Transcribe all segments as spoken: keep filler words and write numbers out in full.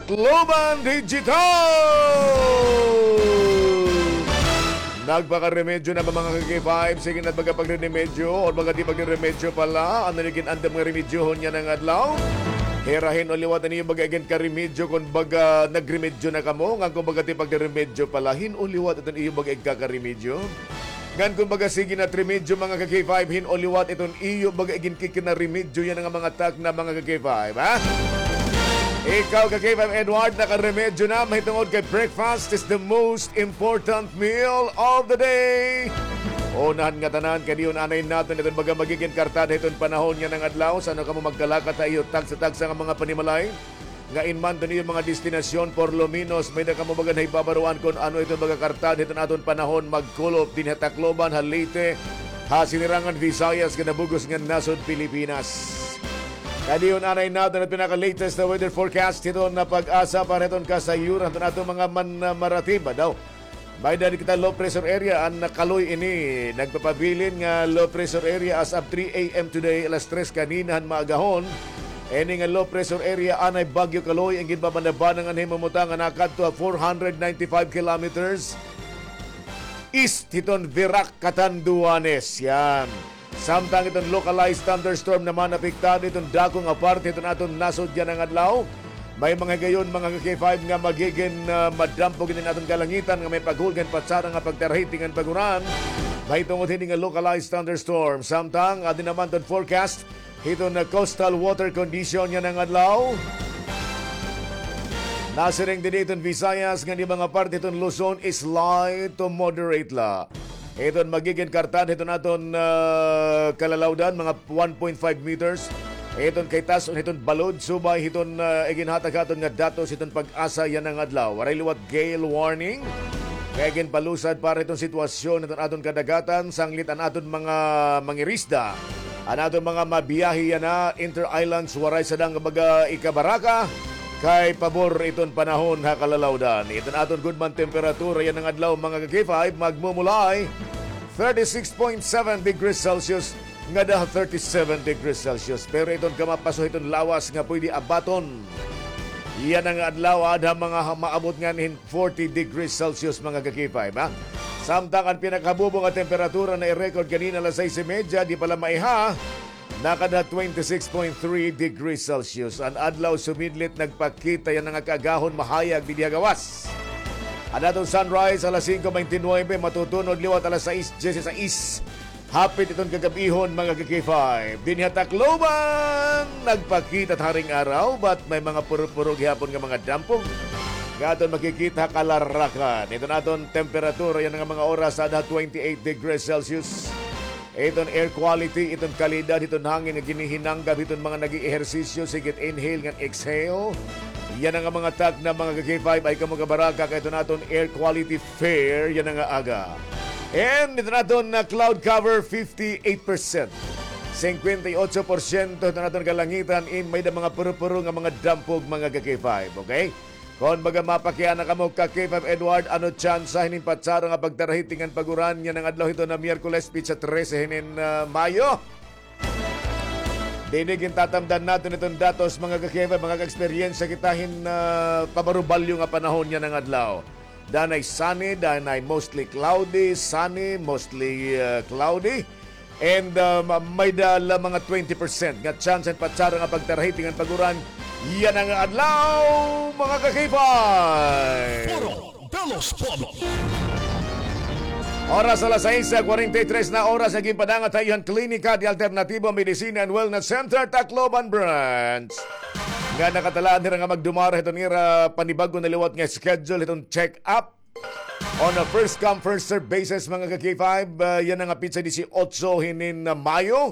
Tacloban Digital! Nagpakaremedyo na ba, mga ka-K five? Sige na, baga pagriremedyo o baga di pagriremedyo pala? Ano ni gin-andam nga remedyohon yana nga adlaw? Hira, hin-o liwat an iyo baga igin karemedyo kon baga nagremedyo na kamo? Ngan kon baga di pagriremedyo pala, hin-o liwat iton iyo baga igkakaremedyo? Ngan kon baga sige na it remedyo, mga ka-K five, hin-o liwat iton iyo baga iginkikinaremedyo yana nga mga takna, mga ka-K five, ha? Ikaw, ka-K five Edward, nakaremedyo na, mahitungod kay breakfast is the most important meal of the day. Unahan nga tanan, kay diyon anay naton iton baga magigin kartada hiton panahon yana nga adlaw. San-o kamo magkalakat ha iyo tagsa-tagsa nga mga panimalay? Nga in man iton iyo mga destinasyon, por lo menos, may-ada kamo baga nahibabaroan kon ano iton baga kartada hiton aton panahon magkulop dinhi ha Tacloban, ha Leyte, ha Sinirangan Visayas, ngan ha bug-os nga nasod Pilipinas. Kay diyon anay naton an pinaka-latest na weather forecast hiton na PAGASA para hiton kasayuran hiton aton mga man-, ah, maratiba daw. May-ada kita low pressure area, an Kaloy ini. Nagpapabilin nga low pressure area as of three a.m. today, alas tres kanina han maagahon. Ini nga low pressure area anay Bagyo Kaloy, an ginbabanabana ngan himumutang nga nakadto ha four hundred ninety-five kilometers east hiton Virac, Catanduanes. Yan. Samtang iton localized thunderstorm naman apektado iton dako nga parte hiton aton nasod yana nga adlaw. May mga higayon, mga ka-K five, nga magigin, ah, madampog iton aton kalangitan nga may paghulgan, patsara nga pagtarahiti ngan pag-uran mahitungod hini nga localized thunderstorm. Samtang adi naman iton forecast hiton, ah, coastal water condition yana nga adlaw. Nasiring didi iton Visayas ngan iba nga parte hiton Luzon is light to moderate la. Iton magigin kartada hiton aton, ah, kalalawdan, mga one point five meters. Iton kay tas-on hiton balod, subay hiton, ah, iginhatag ha aton nga datos hiton PAGASA yana nga adlaw. Waray liwat gale warning. Kay ginpalusad para hiton sitwasyon hiton aton kadagatan, sanglit an aton mga mangirisda, an aton mga mabiyahe yana inter-islands, waray sadang baga ikabaraka. Kay pabor iton panahon ha kalalawdan. Iton aton gudman temperatura yana nga adlaw, mga ka-K five, magmumulay thirty-six point seven degrees Celsius ngada ha thirty-seven degrees Celsius. Pero iton kamapaso hiton lawas nga pwede abaton yana nga adlaw, aada ha mga ha-, maabot nganhi hin forty degrees Celsius, mga ka-K five, ha? Samtang an pinakahabubo nga temperatura na i-record kanina alas sais y media, di pa la maiha, nakada twenty-six point three degrees Celsius. An adlaw sumidlit, nagpakita yana nga kaagahon mahayag didi ha gawas. An aton sunrise alas singko bente nuwebe, matutunod liwat alas sais dyesisais. Hapit iton kagab-ihon, mga ka-K five. Dinhi ha Tacloban, nagpakita it haring araw, but may mga purupuro gihapon nga mga dampog nga aton makikita ha kalarakan. Iton aton temperatura yana nga mga oras, aada ha twenty-eight degrees Celsius. Iton air quality, iton kalidad hiton hangin nga ginihinanggap hiton mga nag-eehersisyo, sige it inhale ngan exhale. Yana nga mga takna, mga ka-K five, ayaw kamo kabaraka kay iton aton air quality fair yana nga aga. And iton aton, ah, cloud cover, fifty-eight percent. Singkwenta y otso porsyento iton aton kalangitan, in may-ada mga purupuro nga mga dampog, mga ka-K five, okay? Kon baga mapakiana kamo, ka-K five Edward, ano tsansa hinin patsara nga pagtarahiti ngan pag-uran yana nga adlaw hiton na Miyerkules, petsa trese hinin, ah, Mayo? Didi gintatamdan naton iton datos, mga ka-K five, mga ka-eksperyensya kita hin, ah, pabarubalyo nga panahon yana nga adlaw. Danay sunny, danay mostly cloudy, sunny, mostly, ah, cloudy. And, ah, ma-, may-ada la mga twenty percent nga tsansa hin patsara nga pagtarahiti ngan pag-uran yana nga adlaw, mga ka-K five. Foro de los Pueblos. Oras alas sais kwarenta y tres na oras, nga ginpadangat ha iyo han Klinika de Alternativo Medicine and Wellness Center, Tacloban Branch, nga nakatalaan hira nga magdumara hiton ira panibag-o na liwat nga schedule hiton check-up on a first come, first serve basis, mga ka-K five. Ah, yana nga petsa disiotso hinin, ah, Mayo.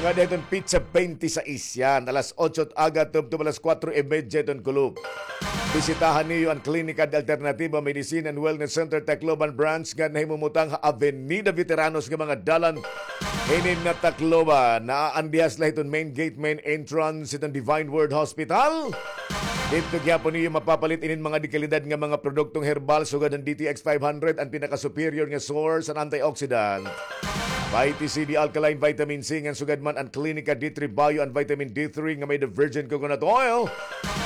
Ngada hiton petsa bente sais, yan, alas otso it aga tubtob alas kuwatro y medya hiton kulop. Bisitaha niyo an Klinika de Alternativo Medicine and Wellness Center Tacloban Branch nga nahimumutang ha Avenida Veteranos nga mga dalan hinin na Tacloban. Naa an dihas la hiton main gate, main entrance hiton Divine Word Hospital. Didto gihapon niyo mapapalit inin mga dekalidad nga mga produktong herbal sugad han D T X five hundred, an pinaka-superior nga source han antioxidant. Vitamin C, the alkaline vitamin C, ngan sugad man an Klinika D three Bio, an vitamin D three nga may-ada virgin coconut oil.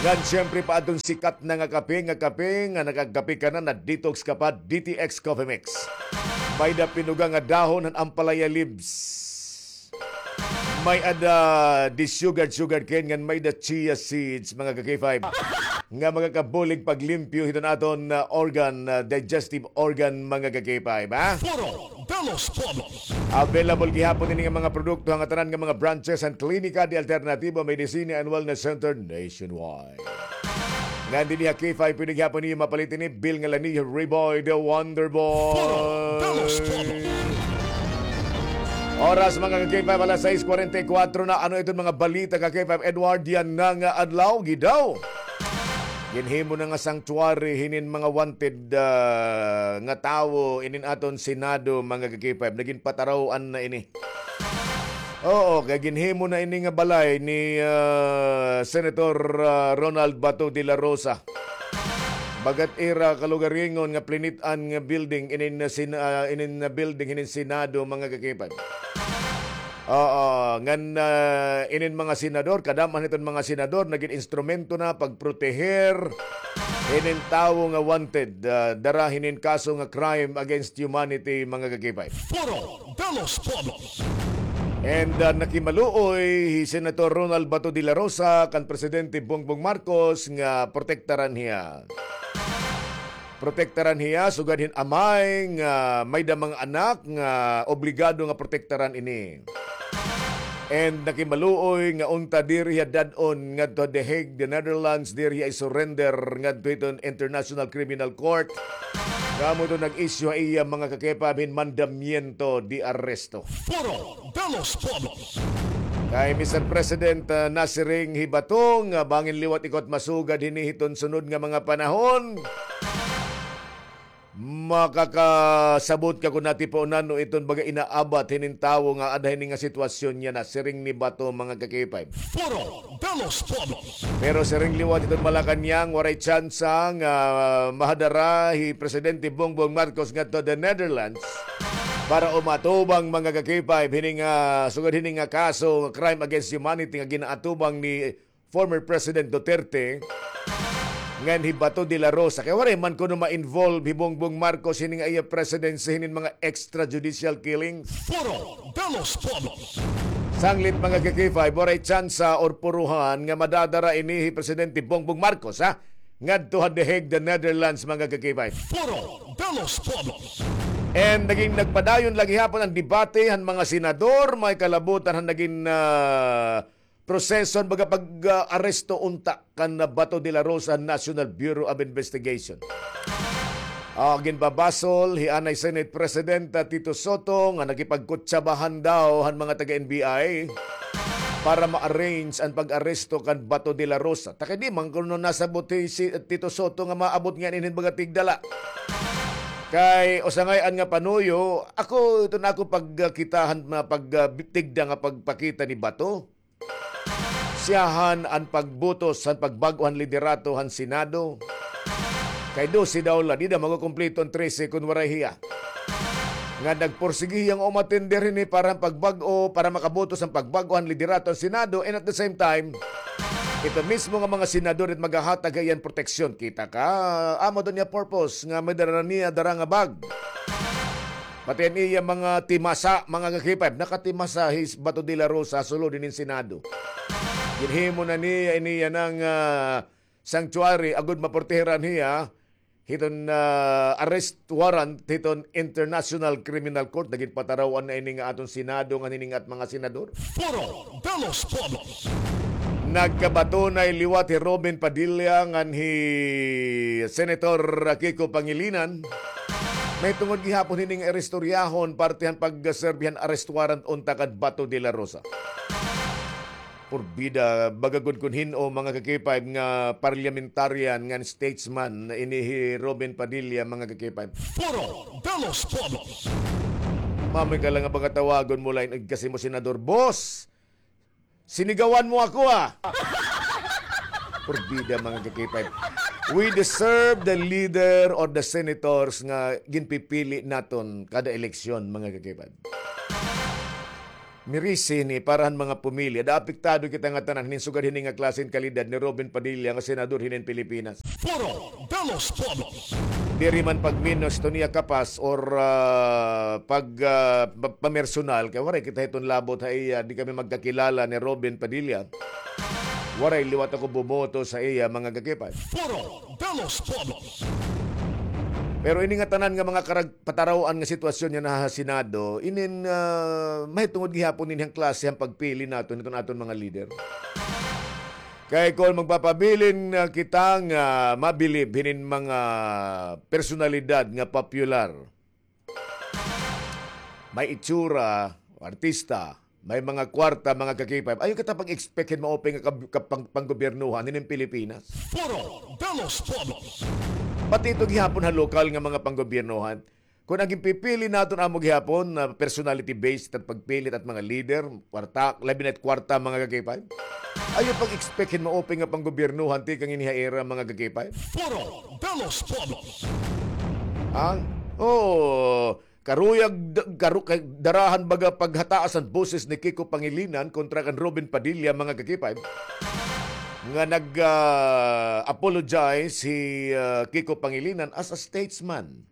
Ngan siyempre pa adton sikat na nga kape, nga kape, nga nakagkape ka na, na-detox ka pa, D T X Coffee Mix. May-ada pinuga nga dahon han ampalaya leaves. May-ada di sugar, sugar cane, ngan may-ada chia seeds, mga ka-K five. Nga makakabulig paglimpyo hiton aton, ah, organ, ah, digestive organ, mga ka-K five, ha? Foro de los Pueblos. Available gihapon ini nga mga produkto han ngatanan nga mga branches han Klinika de Alternativo Medicina and Wellness Center nationwide. Ngan dinhi ha K five, pwede gihapon niyo mapalit ini, Bill Ngalanillo, Reboy, The Wonder Boy. Foro de los Pueblos. Oras, mga ka-K five, alas sais kwarenta y kuwatro na. Ano iton mga balita, ka-K five Edward, yana nga adlaw, gidaw? Ginhimo na nga sanctuary hinin mga wanted, ah, nga tawo inin aton Senado, mga ka-K five. Nagin pataraw-an na ini. Oo, kay ginhimo na ini nga balay ni, ah, Senator, ah, Ronald Bato de la Rosa. Bagat ira kalugaringon nga plinit-an nga building inin, ah, sin-, ah, inin, ah, building hinin Senado, mga ka-K five. Oo, ngan, ah, inin mga senador, kadam-an hiton mga senador, nagin instrumento na pagproteher hinin tawo nga wanted, ah, dara hinin kaso nga crime against humanity, mga ka-K five. Foro de los Pueblos. And, ah, nakimaluoy hi Senator Ronald Bato de la Rosa kan Presidente Bongbong Marcos nga protektaran hiya. Protektaran hiya, sugad hin amay nga may-ada mga anak nga obligado nga protektaran ini. And nakimaluoy nga unta diri hiya dad-on ngadto ha The Hague, The Netherlands, diri hiya i-surrender ngadto hiton International Criminal Court. Nga amo iton nag-issue ha iya, mga ka-K five, hin mandamiento de arresto. Foro de los Pueblos. Kay Mister President, ah, nasiring hi Bato nga bangin liwat ikaw it masugad hini hiton sunod nga mga panahon, makakasabot ka kon natipunan no iton baga inaabat hinin tawo nga ada hini nga sitwasyon niya, nasiring ni Bato, mga ka-K five. Foro de los Pueblos. Pero siring liwat hiton Malacañang, waray tsansa nga mahadara hi Presidente Bongbong Marcos ngadto the Netherlands para umatubang, mga ka-K five, hini nga, sugad hini nga kaso nga crime against humanity nga ginaatubang ni former President Duterte ngan hi Bato de la Rosa. Kay waray man kuno ma-involve hi Bongbong Marcos hini nga iya presidency hinin mga extrajudicial killings. Foro de los Pueblos. Sanglit, mga ka-K five, waray tsansa or puruhan nga madadara ini hi Presidente Bongbong Marcos, ha? Ngadto ha The Hague, the Netherlands, mga ka-K five. Foro de los Pueblos. And naging nagpadayon la gihapon an debate han mga senador, may kalabutan han naging, ah, proseso han baga pag-aresto unta kan Bato de la Rosa han National Bureau of Investigation. Ah, ginbabasol hi anay Senate President, ah, Tito Sotto nga nakipagkutsabahan daw han mga taga-N B I para ma-arrange an pag-aresto kan Bato de la Rosa. Ta kay di man kuno nasabot hi si Tito Sotto nga maabot ngan inin baga tigda la. Kay usa ngay-an nga panuyo, ako, iton ako pagkita han, ah, pag, ah, tigda nga pagpakita ni Bato. Siyahan an pagbutos han pagbag-o han liderato han Senado. Kay dose daw la, dida makukumpleto an trese kon waray hiya. Nga nagpursigi hiya nga umatender hini para han pagbag-o, para makabutos han pagbag-o han liderato han Senado, and at the same time, ito mismo nga mga senador it maghahatag ha iya hin proteksyon. Kita ka, amo daw niya purpose nga may dara niya dara nga bag. Pati an iya mga timasa, mga ka-K five, nakatimasa hi Bato de la Rosa sulod hinin Senado. Ginhimo na niya ini yana nga sanctuary agod maproteheran hiya hiton, ah, arrest warrant hiton International Criminal Court. Nagin pataraw-an na ini nga aton Senado ngan hini nga at mga senador. Foro de los Pueblos. Nagkabatunay liwat hi Robin Padilla ngan hi Senator Kiko Pangilinan. Mahitungod gihapon hini nga istoryahon parte han pagserbi han arrest warrant unta kan Bato de la Rosa. Purbida, baga gud kon hin-o, mga ka-K five, nga parliamentarian ngan statesman ini hi Robin Padilla, mga ka-K five. Foro de los Pueblos. Mamay ka la nga baga tawagon mo la ini, kasi mo senador, boss. Sinigawan mo ako, ah. Purbida, mga ka-K five. We deserve the leader or the senators nga ginpipili naton kada eleksyon, mga ka-K five. Mirisi hini para han mga pamilya. Da apektado kita ngatanan hinin sugad hini nga klase hin kalidad ni Robin Padilla nga senador hinin Pilipinas. Foro de los Pueblos. Diri man pagminos hiton iya kapas or, ah, pag, ah, pa-, pamersonal, kay waray kita hiton labot ha iya, di kami magkakilala ni Robin Padilla. Waray liwat ako bumoto sa iya, mga kakipay. Foro de los Pueblos. Pero ini ngatanan nga mga karag-, pataraw-an nga sitwasyon nga naha Senado, inin, ah, mahitungod gihapon ini han klase han pagpili naton hiton aton mga lider. Kay kon magpapabilin, ah, kita nga mabilib hinin mga personalidad nga popular, may itsura, artista, may mga kwarta, mga kakipay. Ayaw kita pag-expect hin maupay nga kab-, kap-, pang-, panggobyernohan hinin Pilipinas. Foro de los Pueblos. Pati ito gihapon ha lokal nga mga panggobyernohan. Kon an ginpipili naton amo gihapon na personality based it at pagpili it at mga leader, kwarta, labi na it kwarta, mga kakipay. Ayaw pag-expect hin maupay nga panggobyernohan tikang ini ha ira, mga kakipay. Foro de los Pueblos. Ha? Oo. Karuyag d-, karu-, kay darahan baga paghataas an boses ni Kiko Pangilinan kontra kan Robin Padilla, mga kakipay, nga nag, ah, apologize hi, ah, Kiko Pangilinan as a statesman.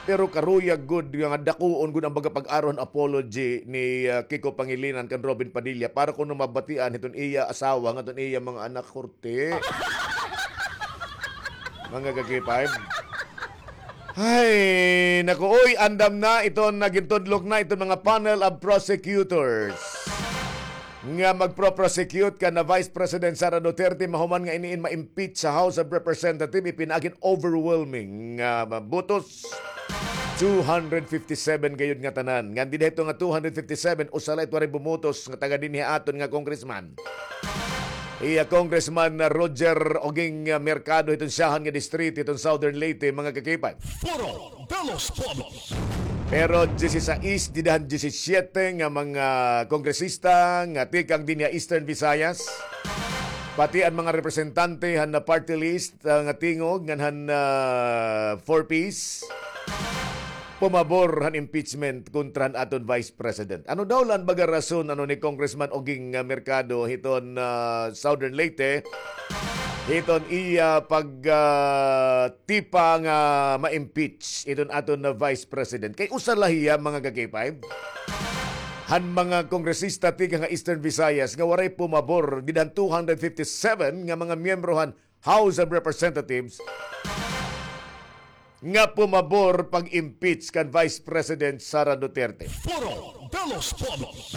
Pero karuyag gud nga dakuon gud an baga pag-aro han apology ni, ah, Kiko Pangilinan kan Robin Padilla para kuno mabatian hiton iya asawa ngan hiton iya mga anak, korte. Mga kakipay. Ay, naku, uy, andam na iton, nagintudlok na iton mga panel of prosecutors nga magpro-prosecute kan Vice President Sara Duterte mahuman nga iniin ma-impeach sa House of Representatives, ipinaagi hin overwhelming nga botos, two hundred fifty-seven gayud ngatanan. Ngan dida hito nga two hundred fifty-seven, usa la it waray bumotos nga taga dinhi ha aton nga congressman. Iya Congressman Roger Oging Mercado hiton siyahan nga distrito hiton Southern Leyte, mga kakipay. Foro de los Pueblos. Pero diyesisais dida han diyesisiyete nga mga kongresista nga tikang dinhi ha Eastern Visayas, pati an mga representante han party list, ah, nga tingog ngan han, ah, Four Ps, pumabor han impeachment kontra han aton Vice President. Ano daw la an baga rason, ano, ni Congressman Oging, ah, Mercado hiton, ah, Southern Leyte, hiton iya pag, ah, tipa nga ma-impeach iton aton na Vice President? Kay usa la hiya, mga kakipay, han mga kongresista tikang ha Eastern Visayas nga waray pumabor dida han two hundred fifty-seven nga mga miyembro han House of Representatives nga pumabor pag-impeach kan Vice President Sara Duterte. Foro de los Pueblos.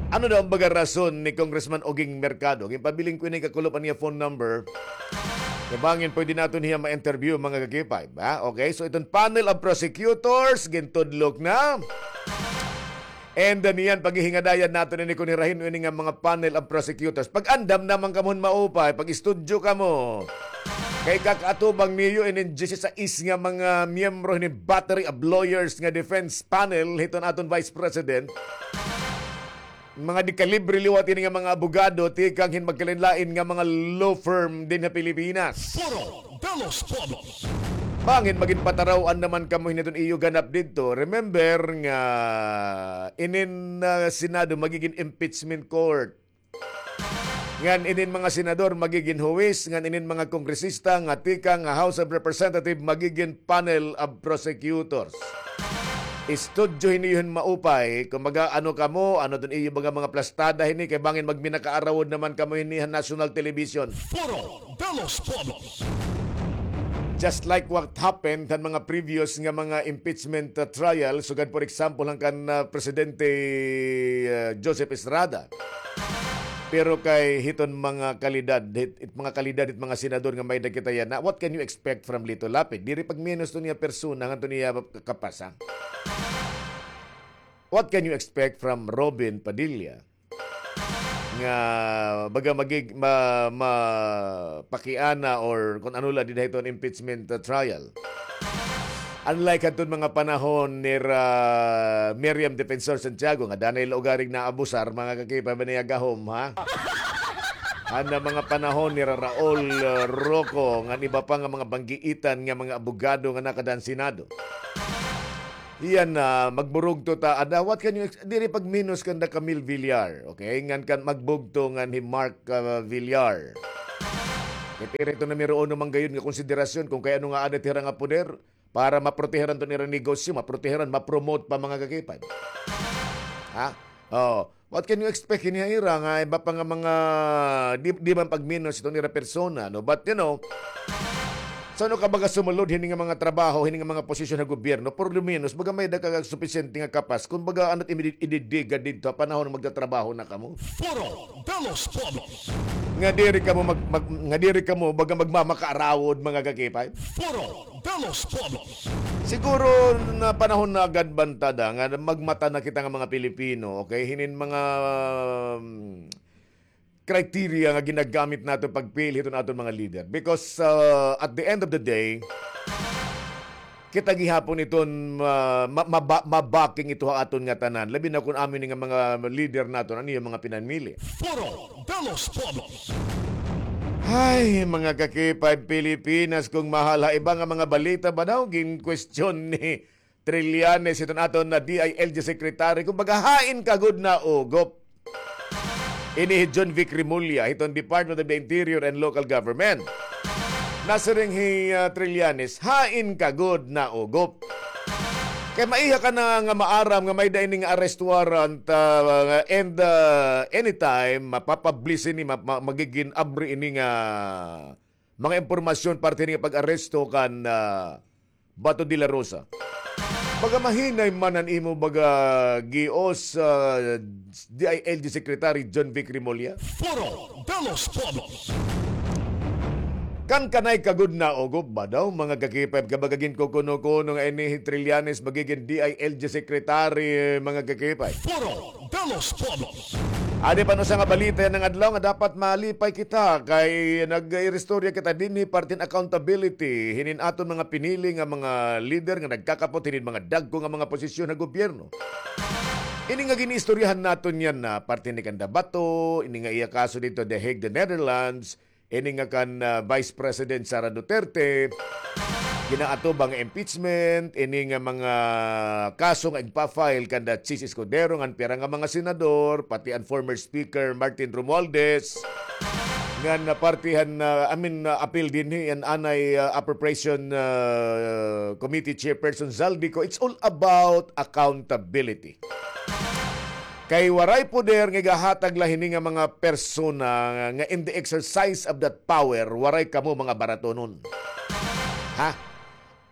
Ano daw an baga rason ni Congressman Oging Mercado? Ginpabilin ko ini kakulop an iya phone number. Kay bangin pwede naton hiya ma-interview, mga kakipay, ha? Okay, so iton panel of prosecutors, gintudlok na. And, uh, niyan, paghihingadayan naton ini kon hira hin-o ini nga mga panel of prosecutors. Pag-andam na man kamo hin maupay, pag-istudyo kamo. Kay kakaatubang niyo inin diyesisais nga mga miyembro hinin battery of lawyers nga defense panel hiton aton Vice President. Mga dekalibre liwat ini nga mga abogado tikang hin magkalain-lain nga mga law firm dinhi ha Pilipinas. Foro de los Pueblos. Bangin magin pataraw-an naman kamo hini hiton iyo ganap didto. Remember nga inin, ah, Senado magigin impeachment court. Ngan inin mga senador magigin huwis, ngan inin mga kongresista nga tikang nga House of Representatives magigin panel of prosecutors. Istudyohi niyo hin maupay, kumbaga, ano kamo, ano iton iyo mga, mga plastada hini, kay bangin magminakaarawod naman kamo hini ha national television. Foro de los Pueblos. Just like what happened han mga previous nga mga impeachment, uh, trial, sugad, for example, han kan, uh, Presidente, uh, Joseph Estrada. Pero kay hiton mga kalidad, hit, hit mga kalidad, hit mga senador nga may-ada kita yana, what can you expect from Lito Lapid? Diri pagminos to niya persona, ngan to niya kapasa. What can you expect from Robin Padilla? Nga baga magig-, ma-, mapakiana or kon ano la dinhi hiton impeachment, uh, trial. Unlike hadton mga panahon ni Ra-, Miriam Defensor Santiago, nga danay la ugaring naabusar, mga kakipay, ba niya gahom, ha? Han mga panahon ni Ra-, Raul, uh, Roco, ngan iba pa nga mga banggiitan nga mga abogado nga nakada han Senado. Iyan na, magburugto ta ada. What can you ex-, diri pagminos kanda Camille Villar, okay? Ngan kan magbugto ngan hi Mark, ah, Villar. Kay pero ito numero uno man gayud nga konsiderasyon kung kay ano nga ada it hira nga poder para maproteharan ton ira negosyo, maproteharan, ma-promote pa, mga kakipay. Ha? Oh, what can you expect hini ha ira nga iba pa nga mga di, di man pagminos iton ira persona, no? But, you know, sa ano ka baga sumulod hini nga mga trabaho, hini nga mga posisyon ha gobyerno, por lo menos, baga may-ada ka supisyente nga kapas, kun baga ano't imi-, ididiga didto ha panahon nga magtatrabaho na kamo. Foro de los Pueblos. Nga diri kamo mag, mag, nga diri kamo baga magmamakaarawod, mga kakipay. Foro de los Pueblos. Siguro na panahon na agad banta da nga magmata na kita nga mga Pilipino, okay? Hinin mga, um, criteria nga ginagamit naton pagpili hiton aton mga leader. Because, uh, at the end of the day, kita gihapon iton ma-, ma-, maba-, mabaking ito ha aton ngatanan. Labi na kun amin nga mga leader naton, ano yung mga pinanmili. Foro de los Pueblos. Ay, mga kakipay Pilipinas, kung mahal ha iba nga mga balita ba daw, gin-question ni Trillanes, iton aton na D I L G secretary, kumbaga, hain ka gud naugop. Ini hi John Vic Remulla, hiton Department of the Interior and Local Government. Nasiring hi, ah, Trillanes, hain ka gud naugop. Kay maiha ka na nga maaram nga may-ada ini nga arrest warrant, ah, and, ah, anytime, mapapublish ini, ma-, ma-, magigin abri ini nga mga impormasyon parte ini nga pag-aresto kan, ah, Bato de la Rosa. Baga mahinay man an imo baga gios, ah, D I L G Secretary John Vic Remulla. Foro de los Pueblos. Kan kanay ka gud naugop ba daw, mga kakipay, ka baga ginkukuno-kuno nga ini hi Trillanes magigin D I L G Secretary, mga kakipay. Foro de los Pueblos. Adi pa no usa nga balita yana nga adlaw nga dapat malipay kita kay nag-iristorya kita dinhi parte hin accountability hinin aton mga pinili nga mga lider nga nagkakapot hinin mga dagko nga mga posisyon ha gobyerno. Ini nga giniistoryahan naton yana parte ni kanda Bato, ini nga iya kaso didto The Hague, the Netherlands, ini nga kan, ah, Vice President Sara Duterte, ginaatubang nga impeachment, ini nga mga kaso nga igpa-file kanda Chiz Escudero ngan pira nga mga senador, pati an former Speaker Martin Romualdez, ngan parte han, ah, I mean, ah, apil dinhi an anay, ah, Appropriation, ah, Committee Chairperson Zaldy Co. It's all about accountability. Kay waray poder nga igahatag la hini nga mga persona nga in the exercise of that power, waray kamo mga baratonon. Ha?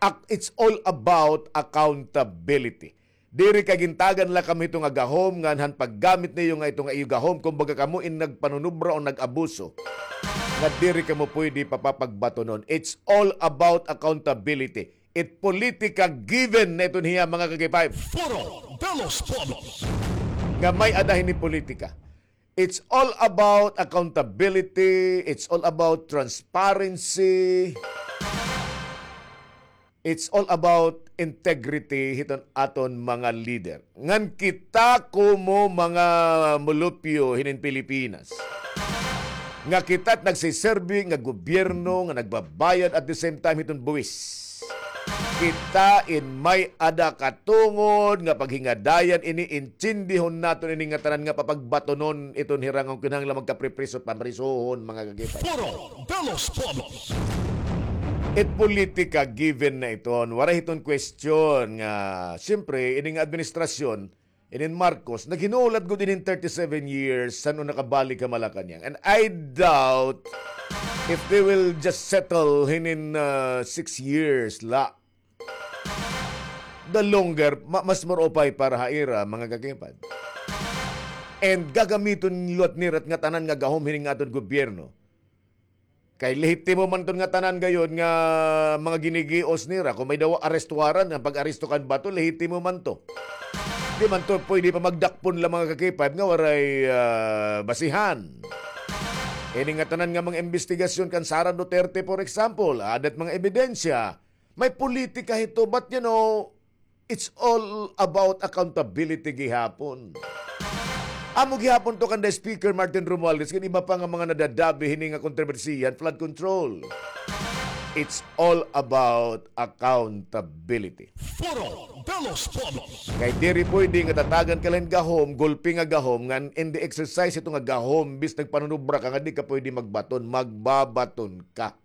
Ak-, it's all about accountability. Diri ka gintagan la kamo hito nga gahom, ngan han paggamit niyo nga ito nga iyo gahom, kumbaga kamo in nagpanunubra o nag-abuso, nga diri kamo pwede papapagbatonon. It's all about accountability. It politika given na iton hiya, mga kakipay. Foro de los Pueblos. Nga may-ada hini politika. It's all about accountability. It's all about transparency. It's all about integrity hiton aton mga leader. Ngan kita komo mga mulupyo hinin Pilipinas, nga kita it nagsiserbi nga gobyerno nga nagbabayad at the same time hiton buwis. Kita in may-ada katungod nga paghingadayan ini, intindihon naton ini nga tanan nga papagbatonon iton hira nga kinahanglan magkapripriso, pamrisohon, mga kakipay. Foro de los Pueblos. It politika given na iton. Waray hiton question nga, siyempre, ini nga administrasyon, inin Marcos, naghinulat gud inin thirty-seven years san-o nakabalik ha Malacañang. And I doubt if they will just settle hinin, uh, six years la. The longer, ma-, mas maupay para ha ira, mga kakipay. And gagamiton liwat nira it ngatanan nga gahom hinin nga aton gobyerno. Kay lehitimo man iton ngatanan gayod nga mga ginigios nira. Kon may-ada arrest warrant, an pag-aresto kan Bato, lehitimo man ito. Di man ito pwede pa magdakpon la, mga kakipay, nga waray, ah, basihan. Ini ngatanan nga mga imbestigasyon kan Sara Duterte, for example, aada it mga ebidensya. May politika hito, but, you know, it's all about accountability gihapon. Amo gihapon ito kanda Speaker Martin Romualdez, ngan iba pa nga mga nadadabi hini nga kontrobersiya, flood control. It's all about accountability. Foro de los Pueblos. Kay diri pwede nga tatagan ka la hin gahom, gulpi nga gahom, ngan in the exercise hito nga gahom, bis nagpanunubra ka nga di ka pwede magbaton, magbabaton ka.